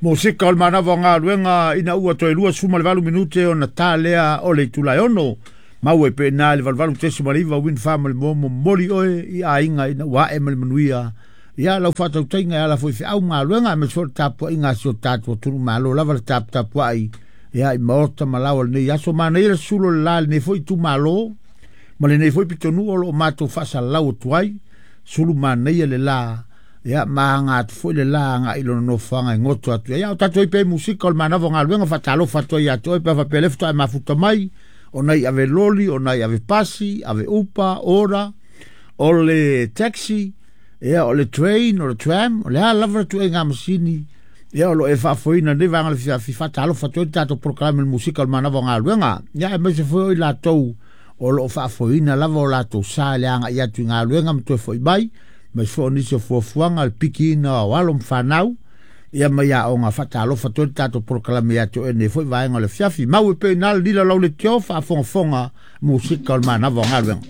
Musika o le manava o galuega ina ua toe 28 minute ona ta lea o le itula e 6. Maua i pena le 88.9 Win Farm le mo momoli oe i aiga ina ua ae ma le manuia. Ia lau faatautaiga e ala foi feau ma galuega aemaise foi le tapuaiga a si o tatou atunuu malo lava le taputapuai ia i maota ma laoa o lenei aso. Manaia le sulo o le la i lenei foi itumalo ma lenei foi pitonuu o lo o matou faasalalau atu ai. Sulu manaia le la, ia ma aga atu foi le la agai i lona nofoaga e goto atu ai. Ia o tatou ai pea i musika o le manava o galuega, faatalofa atu ai ia te oe pe a faapea lea faatoa e mafuta mai, ona i ave loli, ona i ave pasi, ave upa, ora, o le taxi, ia o le train, o le tram, o le a lava le tuaiga masini, ia o lo o e faafoeina lenei vaega o le fiafi, faatalofa atu ai le tatou polokalame o le musika o le manava o galuega. Ia aemaise foi o i latou o lo o faafoeina lava o latou sa i le agai atu i galuega ma toe foi mai, aemaise foi o nisi o fuafuaga, le pikiina o alo ma fanau, ia mai aoga. Faatalofa atu ai le tatou polokalame ia te oe nei foi vaega o le afiafi. Mau e pei na le lila lau le tio faafogafoga musika o le manava o galuega.